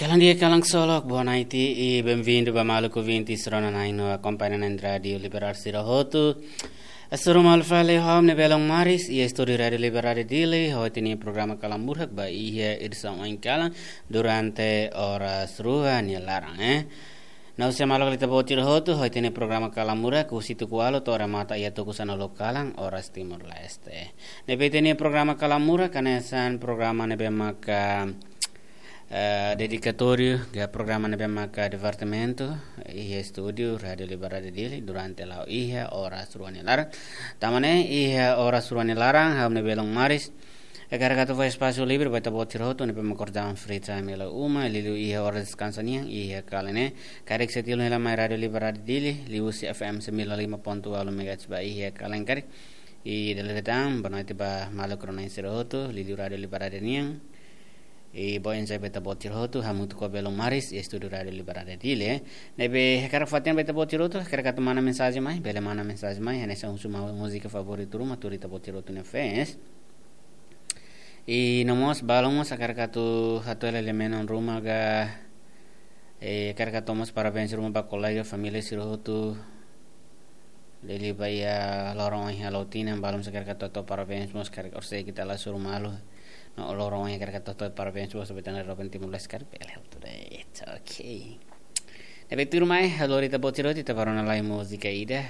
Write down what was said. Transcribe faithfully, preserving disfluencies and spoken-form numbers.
Bom dia, kalan ksolok, boa noite e bem-vindo ba maluk ouvinte sira-ne'ebé akompaña rádiu Liberdade sira hotu. Hasoru malu fali ho ha'u-nia belun Maris, iha estúdiu Rádiu Liberdade Dili, ho ita-nia programa Kalan Murak ba iha edisaun oin kalan durante oras rua nia laran, eh. Ha'u sei maluk ita-boot sira hotu, ho ita-nia programa Kalan Murak, husi tuku ualu to'o remata iha tuku sanulu kalan, oras Timor-Leste. Ne'ebé ita-nia programa Kalan Murak, hanesan programa ne'ebé maka, eh, dedikatóriu, ka programa ne'ebé maka divertimentu, iha estúdiu Rádiu Liberdade Dili, durante la'o iha oras rua nia laran. Tanba ne'e, iha oras rua nia laran, ha'u-nia belun Maris, hakarak atu fó espasu livre ba ita-boot sira hotu, ne'ebé maka kordang free time hela uma, liuliu iha oras deskansa nian, iha kalan ne'e, karik sei tilun hela mai Rádiu Liberdade Dili, liuhusi F M sembilan lima ponto ualu megahertz ba iha kalan karik. I dala ida tan, boa noite ba maluk rona-na'in sira hotu, liuliu Rádiu Liberdade nian. I boa noite ba ita-boot sira hotu, hamutuk ho belun Maris, iha estúdiu Rádiu Liberdade Dili, eh. Ne'ebé hakarak fó-hatene ba ita-boot sira hotu, hakarak atu manda mensajen mai, bele manda mensajen mai, hanesan husu múzika favoritu ruma, tuir ita-boot sira hotu-nia fans. I no mós, balun mós hakarak atu hato'o hela lia-menon ruma ka, eh, hakarak atu tau mós parabéns ruma ba kolega, família sira hotu. Liuliu ba iha loron ohin halo tinan, balun mós hakarak atu hato'o parabéns mós, karik orsida ita la hasoru malu. No loron ohin hakarak atu hato'o parabéns mós, be tan loron Timor-Leste karik bele hotu de'it, ok. Ne'ebé tuirmai, halo ita-boot sira hotu, ita bá rona lai múzika ida.